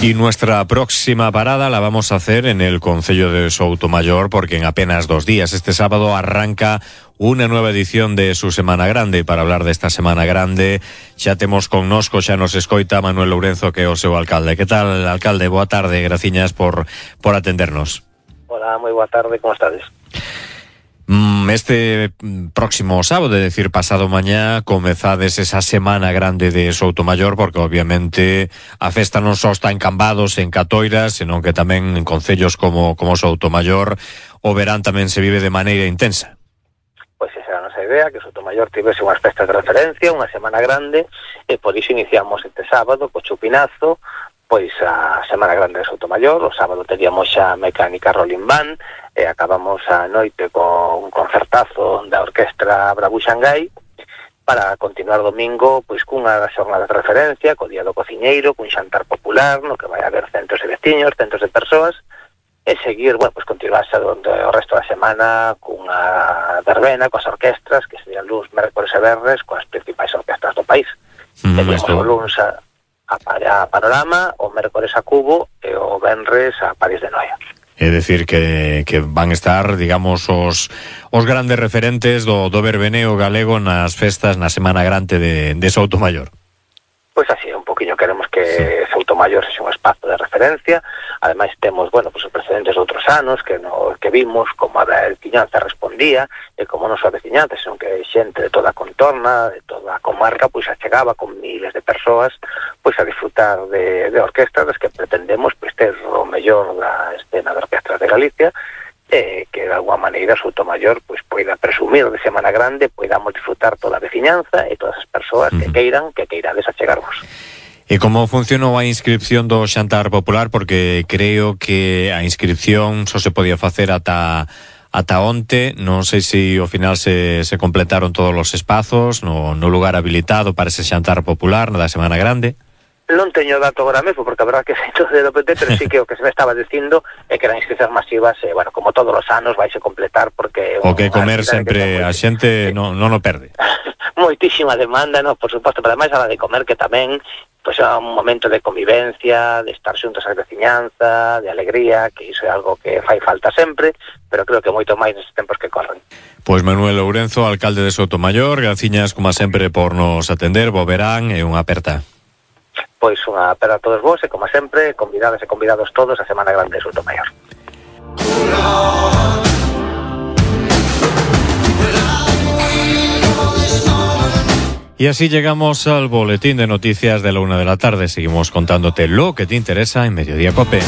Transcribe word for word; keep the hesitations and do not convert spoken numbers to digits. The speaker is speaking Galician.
Y nuestra próxima parada la vamos a hacer en el concello de Soutomaior, porque en apenas dos días, este sábado, arranca unha nueva edición de su Semana Grande. Para hablar desta Semana Grande xa temos connosco, xa nos escoita Manuel Lourenzo, que é o seu alcalde. Que tal, alcalde? Boa tarde, graciñas por, por atendernos. Hola, moi boa tarde, como estades? Este próximo sábado, é dicir, pasado mañá, comezades esa Semana Grande de Soutomaior, porque obviamente a festa non só está en Cambados, en Catoiras, senón que tamén en concellos como, como Soutomaior o verán tamén se vive de maneira intensa. Pois esa era a nosa idea, que Soutomaior tivese unhas festas de referencia, unha Semana Grande, e por iso iniciamos este sábado co chupinazo, pois a Semana Grande de Soutomaior. O sábado teríamos xa Mecánica Rolling Band, e acabamos a noite con un concertazo da Orquestra Bravú Xangai, para continuar domingo pois cunha xornada de referencia, co Día do Cociñeiro, cun xantar popular, no que vai haber centos de veciños, centos de persoas, e seguir, bueno, pois continuarse onde o resto da semana cunha verbena, coas orquestras, que serían luns, mércores e verres, coas principais orquestras do país. Mm, Teníamos o luns a, a, a Panorama, o mércores a Cubo e o venres a París de Noia. É dicir que, que van estar, digamos, os, os grandes referentes do, do verbeneo galego nas festas na Semana Grande de, de Soutomaior. Pois así, un poquinho queremos que sí. Soutomaior sexa un espazo de referencia. Ademais temos, bueno, pois os precedentes de outros anos que no, que vimos como a veciñanza respondía, e como non só a veciñanza, senón que xente de toda a contorna, de toda a comarca, pois achegaba con miles de persoas pois a disfrutar de, de orquestras das que pretendemos pois ter o mellor da escena de orquestras de Galicia, e que de alguma maneira Soutomaior pois poida presumir de Semana Grande, poidamos disfrutar toda a veciñanza e todas as persoas que queiran, que queirades achegarvos. E como funcionou a inscripción do xantar popular? Porque creo que a inscripción só se podía facer ata ata onte, non sei se ao final se, se completaron todos os espazos no, no lugar habilitado para ese xantar popular na da Semana Grande. Non teño dato agora mesmo, porque a verdad que sei todo de O P T, pero sí que o que se me estaba dicindo é que eran inscripcións masivas, e, bueno, como todos os anos vais a completar, porque... O que comer sempre a xente non, non o perde. Moitísima demanda, no, por suposto, pero ademais a la de comer, que tamén pois é un momento de convivencia, de estar xuntos a veciñanza, de alegría, que iso é algo que fai falta sempre, pero creo que moito máis nestes tempos que corren. Pois Manuel Lourenzo, alcalde de Soutomaior, graciñas, como sempre, por nos atender, bo verán e unha aperta. Pois unha aperta a todos vos, e como sempre, convidados e convidados todos a Semana Grande de Soutomaior. Y así llegamos al boletín de noticias de la una de la tarde. Seguimos contándote lo que te interesa en Mediodía Cope.